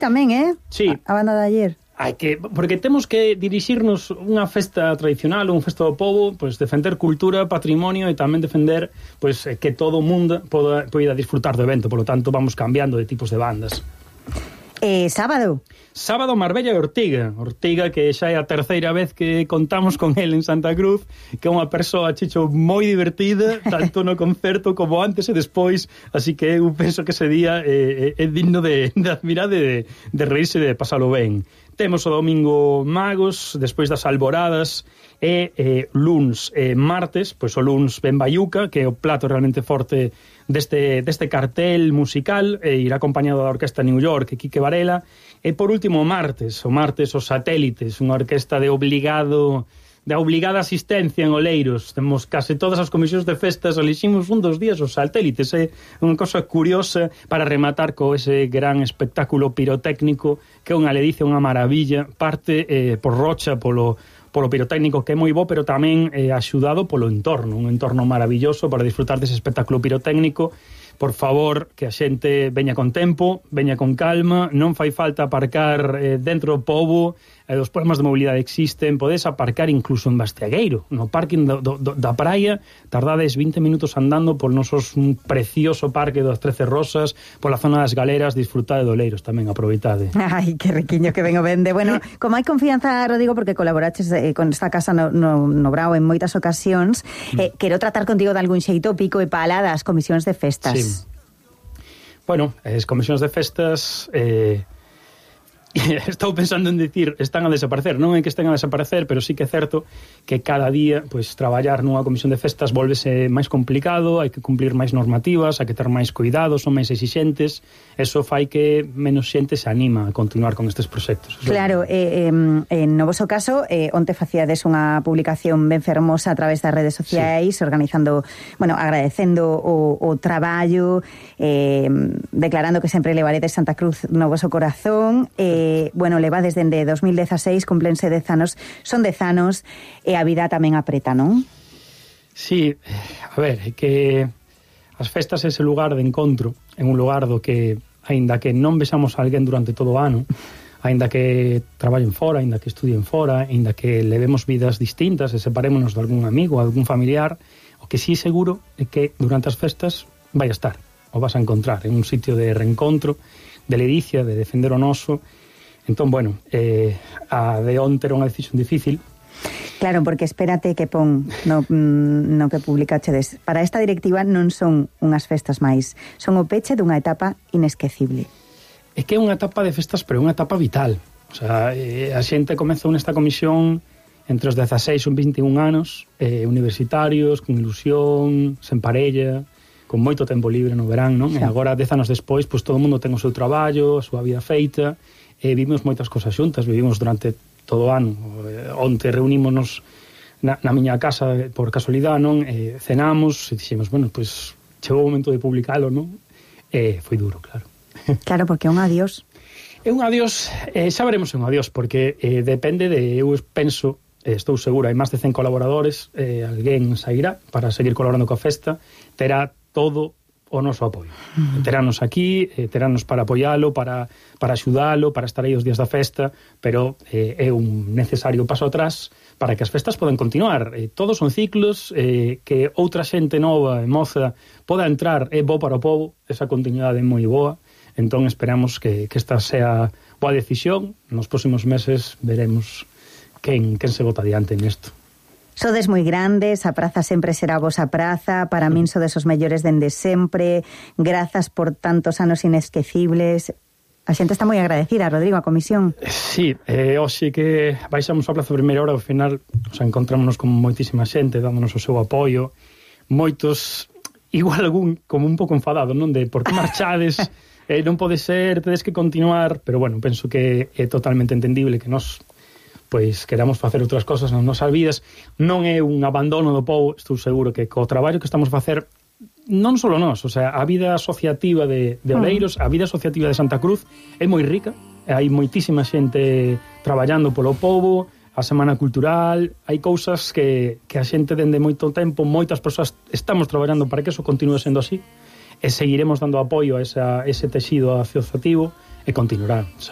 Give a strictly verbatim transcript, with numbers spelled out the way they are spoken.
tamén, eh? Sí. A, a banda de ayer. Hai que, porque temos que dirixirnos unha festa tradicional, unha festa do povo, pois defender cultura, patrimonio e tamén defender pois que todo o mundo poda, poida disfrutar do evento, polo tanto vamos cambiando de tipos de bandas. Eh, sábado. Sábado Marbella e Ortiga. Ortiga, que xa é a terceira vez que contamos con el en Santa Cruz, que é unha persoa, Chicho, moi divertida, tanto no concerto como antes e despois, así que eu penso que ese día é, é, é digno de, de admirar, de, de reírse e de pasalo ben. Temos o domingo Magos, despois das alboradas, e eh, luns e martes, pois o luns Ben Bayuca, que é o plato realmente forte deste, deste cartel musical, e irá acompañado da Orquesta New York e Quique Varela, e por último o martes, o martes os Satélites, unha orquesta de obligado... de obligada asistencia en Oleiros. Temos case todas as comisións de festas, eliximos un dos días os Satélites, é unha cosa curiosa para rematar co ese gran espectáculo pirotécnico que é unha ledicia, unha maravilla, parte eh, por Rocha, polo, polo pirotécnico que é moi bo, pero tamén eh, axudado polo entorno, un entorno maravilloso para disfrutar dese espectáculo pirotécnico. Por favor, que a xente veña con tempo, veña con calma, non fai falta aparcar eh, dentro do pobo, eh, os problemas de mobilidade existen, podes aparcar incluso en Bastiagueiro, no parking do, do, da praia, tardades vinte minutos andando por nosos un precioso parque das Trece Rosas, pola zona das Galeras, disfrutade de Oleiros tamén, aproveitade. Ai, que riquiño que vengo vende. Bueno, como hai confianza, Rodrigo, porque colaboraches eh, con esta casa no, no, no Brao en moitas ocasións, eh, quero tratar contigo de algún xeito pico e pala das comisións de festas. Sí. Bueno, as comisións de festas eh, estou pensando en dicir están a desaparecer, non é que estén a desaparecer, pero sí que é certo que cada día pois traballar nunha comisión de festas volvese máis complicado, hai que cumplir máis normativas, hai que ter máis cuidados, son máis exixentes, eso fai que menos xente se anima a continuar con estes proxectos. Claro, eh, eh, no voso caso, eh, onte facíades unha publicación ben fermosa a través das redes sociais, sí, organizando, bueno, agradecendo o, o traballo, eh, declarando que sempre levaredes Santa Cruz no voso corazón, eh, Eh, bueno, levades dende dos mil dezaseis, cumplense dez anos, son dez anos e a vida tamén apreta, non? Sí, a ver, é que as festas é ese lugar de encontro, en un lugar do que, aínda que non vexamos a alguén durante todo o ano, aínda que traballen fora, aínda que estudien fora, aínda que levemos vidas distintas e separémonos de algún amigo, de algún familiar, o que sí seguro é que durante as festas vai a estar, o vas a encontrar en un sitio de reencontro, de ledicia, de defender o noso. Entón, bueno, eh, a de onte era unha decisión difícil. Claro, porque espérate que pon no, no que publicachedes. Para esta directiva non son unhas festas máis, son o peche dunha etapa inesquecible. É que é unha etapa de festas, pero é unha etapa vital. O sea, eh, a xente comezou nesta comisión entre os dezaseis e vinte e un anos, eh, universitarios, con ilusión, sen parella, con moito tempo libre no verán, non? Sí. E agora, dez anos despois, pois todo o mundo ten o seu traballo, a súa vida feita, e vivimos moitas cosas xuntas, vivimos durante todo o ano. Onte reunímonos na, na miña casa por casualidade, non? E cenamos e dixemos, bueno, pois chegou o momento de publicalo, non? E foi duro, claro. Claro, porque é un adiós. É un adiós, eh, xa veremos un adiós, porque eh, depende de, eu penso, eh, estou segura, hai máis de cen colaboradores, eh, alguén sairá para seguir colaborando coa festa, terá todo o noso apoio. Uh-huh. Terános aquí, eh, terános para apoialo, para, para axudalo, para estar aí os días da festa, pero eh, é un necesario paso atrás para que as festas podan continuar. Eh, todos son ciclos, eh, que outra xente nova e moza poda entrar, é bo para o povo, esa continuidade é moi boa, entón esperamos que, que esta sea boa decisión. Nos próximos meses veremos quen, quen se bota adiante nesto. Sodes moi grandes, a praza sempre será a vosa praza, para min sodes os mellores dende sempre, grazas por tantos anos inesquecibles. A xente está moi agradecida, Rodrigo, a comisión. Sí, eh, hoxe que baixamos a plaza a primeira hora, ao final o sea, encontrámonos con moitísima xente, dándonos o seu apoio, moitos, igual algún como un pouco enfadado, non? De por que marchades, eh, non pode ser, tedes que continuar, pero bueno, penso que é totalmente entendible que nos pois queramos facer outras cosas nas nosas vidas, non é un abandono do povo, estou seguro que co traballo que estamos a facer, non só nós, o sea, a vida asociativa de, de Oleiros, a vida asociativa de Santa Cruz é moi rica, hai moitísima xente traballando polo povo, a Semana Cultural, hai cousas que, que a xente dende moito tempo, moitas persoas estamos traballando para que eso continue sendo así, e seguiremos dando apoio a esa, ese texido asociativo, e continuará, sabe?